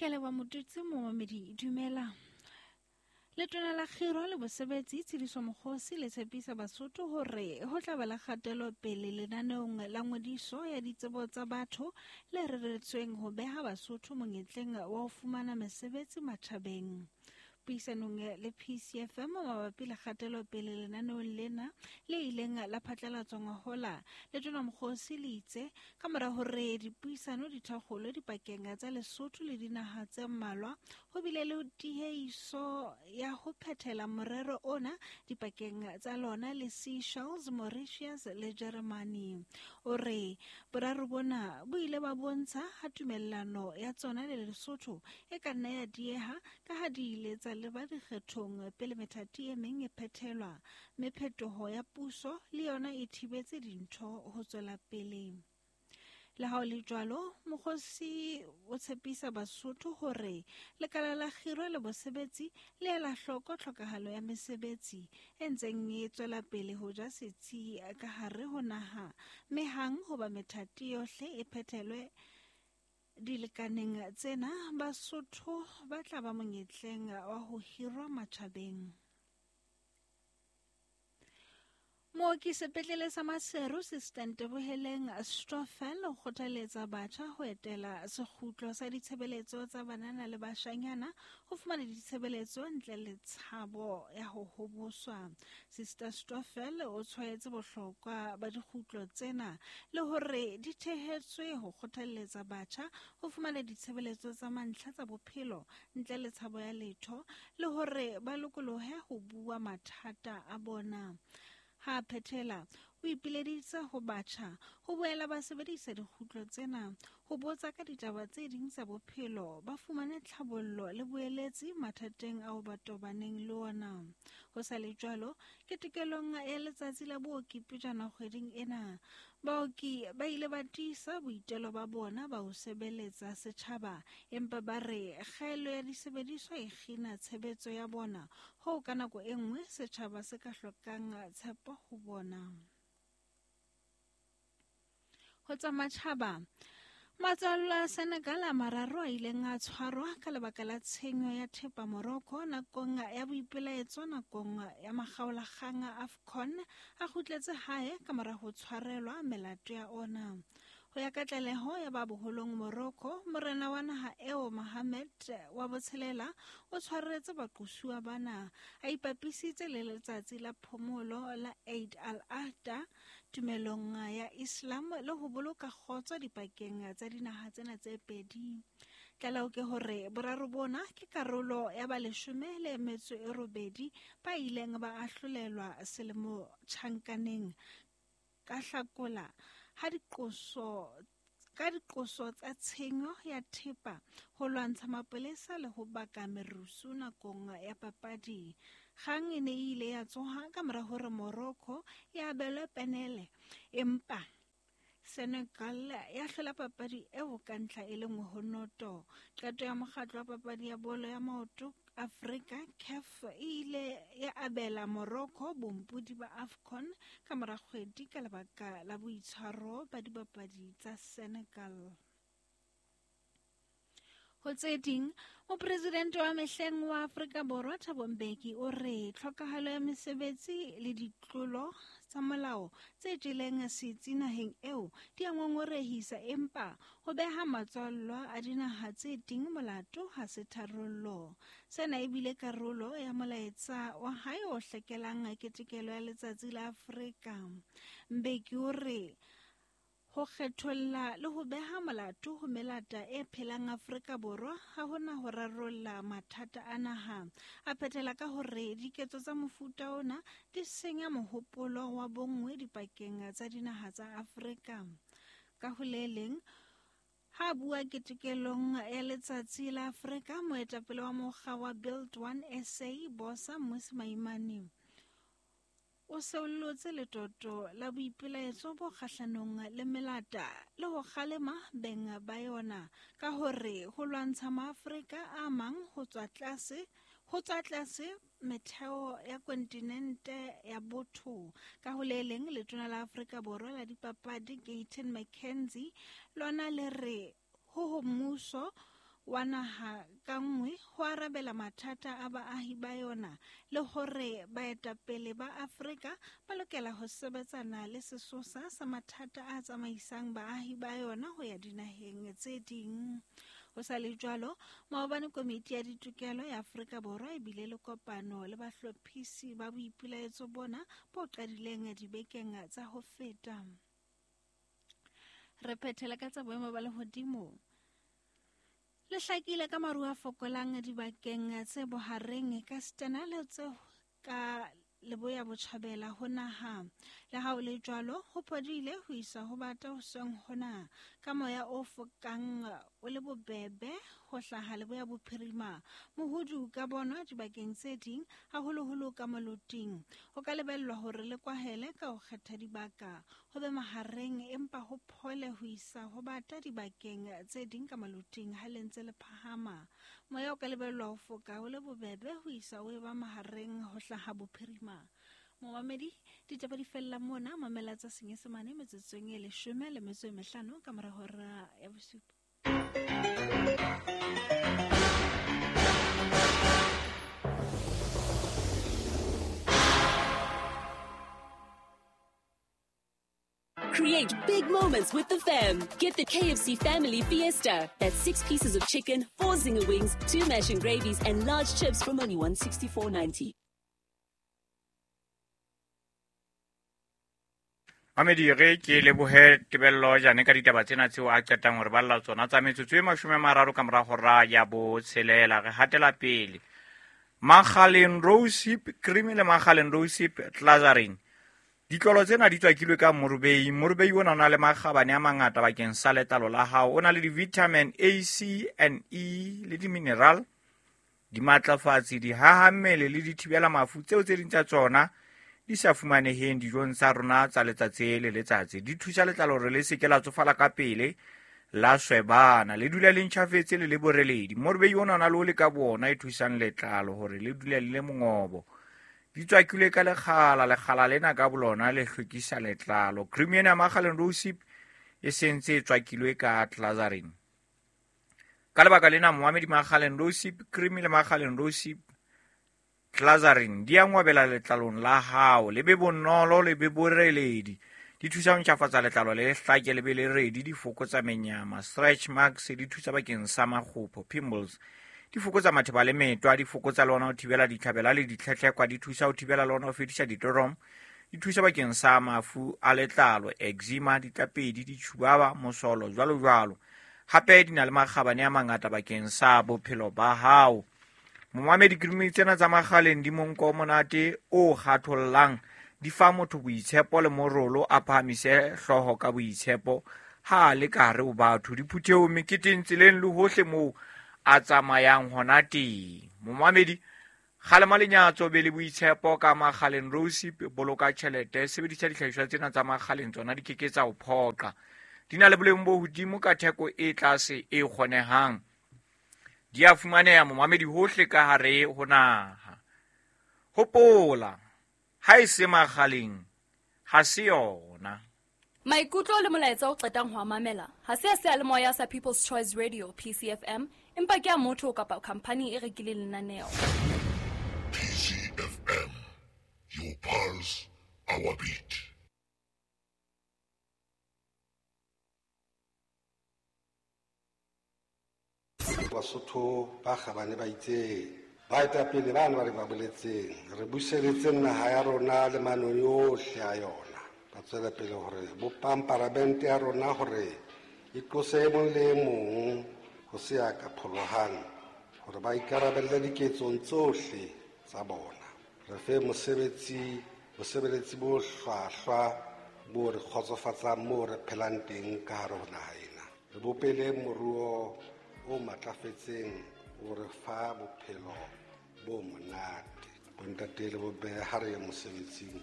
Ke a leboha Motutsi momamedi dumela. Letona la Kgiro le Bosebetsi Tshediso Mokgosi le tshepisa Basotho hore ho tla ba le kgatelo pele lenaneong la ngodiso ya ditsebo tsa batho le reretsweng ho beha Basotho monyetleng wa ho fumana mesebetsi matjhabeng. Puisanong le PCFM mabapi le kgatelo pele lenaneong lena le ileng la phatlalatswa ngwahola, Letona Mokgosi le itse ka mora hore dipuisano di thakgolwe dipakeng tsa Lesotho le dinaha tse mmalwa, ho bile le tiehiso ya ho phethela morero ona dipakeng tsa lona le Seychelles, Mauritius le Jeremane. O re boraro bona bo ile ba bontsha ha tumellano ya tsona le Lesotho e ka nna ya dieha ka ha di ile tsa leba dikgethong pele methati e meng e phethelwa, mme phetoho ya puso le yona e thibetse dintho ho tswela pele. Le ha ho le jwalo, Mokgosi o tshepisa Basotho hore lekala la kgiro le bosebetsi le ela hloko tlhokahalo ya mesebetsi e ntseng e tswela pele ho ja setsi ka hare ho naha, mme hang hoba methati yohle e phethelwe Dilekaneng tsena, Basotho ba tla ba monyetleng wa ho hirwa matjhabeng. Mooki sepetlele sa Maseru Sister Nteboheleng Stoffel o kgothaletsa batjha ho etela sekgutlo sa ditshebeletso tsa banana le bashanyana ho fumana ditshebeletso ntle le tshabo ya ho hoboswa. Sister Stoffel o tshwaetse bohlokwa ba dikgutlo tsena le hore di thehetswe ho kgothalletsa batjha ho fumana ditshebeletso tsa mantlha tsa bophelo ntle le tshabo ya letho le hore ba lokolohe ho bua mathata a bona. Ha a phethela, o ipileditse ho batjha ho boela ba sebedisa dikgutlo tsena ho botsa ka ditaba tse ding tsa bophelo, ba fumane tlhabollo le boeletsi mathateng ao ba tobaneng le ona. Ho sa le jwalo, ketekelong ya letsatsi la booki pejana kgweding ena, baoki ba ile ba tiisa boitelo ba bona ba ho sebeletsa setjhaba, empa ba re kgaello ya disebediswa e kgina tshebetso ya bona hoo ka nako e nngwe setjhaba se ka hlokang tshepo ho bona. Ho tsa matjhaba, matswallo a Senegal a mararo a ileng a tshwarwa ka lebaka la tshenyo ya thepa Morocco nakong ya boipelaetso nakong ya makgaolakgang a AFCON a kgutletse hae ka mora ho tshwarelwa melato ya ona. Ho ya ka tlaleho ya ba boholong Morocco, morena wa naha eo Mohammed wa botshelela o tshwaretse baqosuwa bana a ipapisitse le letsatsi la phomolo la Eid al-Adha tumelong ya Islam le ho boloka kgotso dipakeng tsa dinaha tsena tse pedi. Tlaleho ke hore boraro bona ke karolo ya ba leshome le metso e robedi ba ileng ba ahlolelwa selemo tjhankaneng ka Hlakola ha diqoso ka diqoso tsa tshenyo ya thepa, ho lwantsha mapolesa le ho baka merusu nakong ya papadi. Kgang e ne e ile ya tsoha ka mora hore Morocco e abelwe penele, empa Senegal ya hlola papadi eo ka ntlha e le nngwe ho noto. Qeto ya mokgatlo wa papadi ya bolo ya maoto Afrika, CAF, e ile ya abela Morocco bompodi ba AFCON ka mora kgwedi ka lebaka la boitshwaro ba dibapadi tsa Senegal. Ho tse ding, mopresidente wa mehleng wa Afrika Borwa Thabo Mbeki o re tlhokahalo ya mesebetsi le ditlolo tsa molao tse jeleng setsi naheng eo di a ngongorehisa, empa ho beha matswallwa a dinaha tse ding molato ha se tharollo. Sena e bile karolo ya molaetsa wa hae o hlakelang ketekelo ya Letsatsi la Afrika. Mbeki o re Ho kgetholla le ho beha molato ho melata e phelang Afrika Borwa ha ho na ho rarolla mathata a naha. A phethela ka hore diketso tsa mofuta ona di senya mohopolo wa bonngwe dipakeng tsa dinaha tsa Afrika. Ka ho le leng, ha a bua ketekelong ya Letsatsi la Afrika, moetapele wa mokga wa Build One SA, Bosa Mmusi Maimane, O seollotse letoto la boipelaetso bo kgahlanong le melata le ho kgalema beng ba yona ka hore ho lwantsha Maafrika a mang ho tswa tlase ho tswa tlase metheo ya kontinente ya botho. Ka ho le leng, letona la Afrika Borwa la dipapadi Gayton McKenzie lona le re ho ho mmuso wa naha ka nngwe ho arabela mathata a baahi ba yona le hore baetapele ba Afrika ba lokela ho sebetsana le sesosa sa mathata a tsamaisang baahi ba yona ho ya dinaheng tse ding. Ho sa le jwalo, maobane komiti ya ditokelo ya Afrika Borwa e bile le kopano le bahlophisi ba boipelaetso bona bo qadileng dibekeng tsa ho feta. Re phethela ka tsa boemo ba lehodimo. Le hlakile ka maru a fokolang dibakeng tse bohareng ka sitana le tse ka leboya botjhabela ho naha. Le ha ho le jwalo, ho phodile ho isa ho bata hoseng hona ka moya o fokang o le bobebe ho hlaha leboya bophirima. Mohudu ka bonwa dibakeng tse ding, haholoholo ka moloting. Ho ka lebellwa hore le kwahele ka ho kgetha dibaka, ho be mahareng empa ho phole ho isa ho bata dibakeng tse ding ka moloting ha le ntse le phahama. Moya o ka lebellwa ho foka o le bobebe ho isa o eba mahareng ho hlaha bophirima. Momamedi, ditaba di fella mona, mamela tsa Senyesemane metsotsong e 15 ka mora hora ya 7. Create big moments with the fam. Get the KFC Family Fiesta. That's 6 pieces of chicken, 4 zinger wings, 2 mash and gravies, and large chips from only $164.90. Mamedi re ke lebohe Tebello Jane ka ditaba tsena tseo a qetang hore balla tsona tsa metsotso e 30 ka mora hora ya 6. Re hatela pele. Makgaleng Rosehip Cream le Makgaleng Rosehip Glycerin. Ditlolo tsena di tswakilwe ka morubei. Morubei ona o na le makgabane a mangata bakeng sa letlalo la hao. O na le di-vitamin A, C and E le di-mineral, dimatlafatsi, dihahammele le dithibela mafu tseo tse ding tsa tsona di sa fumaneheng dijong tsa rona tsa letsatsi le letsatsi. Di thusa letlalo hore le se ke la tsofala ka pele, la swebana, le dula le ntjhafetse le le boreledi. Morubei ona o na le o le ka bona e thusang letlalo hore le dule le le mongobo. Di tswakilwe ka lekgala, lekgala lena ka bolona le hlwekisa letlalo. Cream ena ya Makgaleng Rosehip e sentse e tswakilwe ka glycerin. Ka lebaka lena momamedi, Makgaleng Rosehip Cream le Makgaleng Rosehip Glycerin di a ngwabela letlalong la hao, le be bonolo, le be boreledi. Di thusa ho ntjhafatsa letlalo le hlake le be le redi, di fokotsa menyama, stretch marks, di thusa bakeng sa makgopho, pimples. Di fokotsa matheba le metwa, di fokotsa le ona ho thibela ditlhabela le ditlhetlhekwa, di thusa ho thibela le ona ho fedisa ditoromo, di thusa bakeng sa mafu a letlalo, eczema, ditlapedi, ditjhubaba, mosolo, jwalo jwalo. Hape di na le makgabane a mangata bakeng sa bophelo ba hao. Momamedi, cream tsena tsa Makgaleng di monko o monate o kgathollang, di fa motho boitshepo le morolo, a phahamise hlooho ka boitshepo ha a le ka hare ho batho, diphuthehong, meketeng, tseleng le hohle moo a tsamayang hona teng. Momamedi, kgalema lenyatso, be le boitshepo ka Makgaleng Rosehip, boloka tjhelete, sebedisa dihlahiswa tsena tsa Makgaleng, tsona di keke tsa o phoqa. Di na le boleng bo hodimo ka theko e tlase e kgonehang. Di a fumaneha momamedi hohle ka hare ho naha. Hopola, ha e se Makgaleng, ha se yona. Maikutlo le molaetsa o qetang ho mamela ha se a seyalemoya sa People's Choice Radio PCFM, empa ke a motho kapa khampani e rekileng lenaneo. PCFM, your pulse, our beat. Basotho ba kgabane ba itseng, baetapele bana ba re ba boletseng, re buseletseng naha ya rona le manong yohle a yona. Ba tswela pele hore bopang paramente ya rona hore e tlose e mong le e mong ho se ya ka pholohang, hore ba ikarabelle diketsong tsohle tsa bona. Re fe bosebeletsi bo hlwahlwa bo re kgotsofatsang moo re phelang teng ka hare ho naha ena. Re bopele moruo o matlafetseng o re fa bophelo bo monate. Bontate le bomme ha re ye mosebetsing,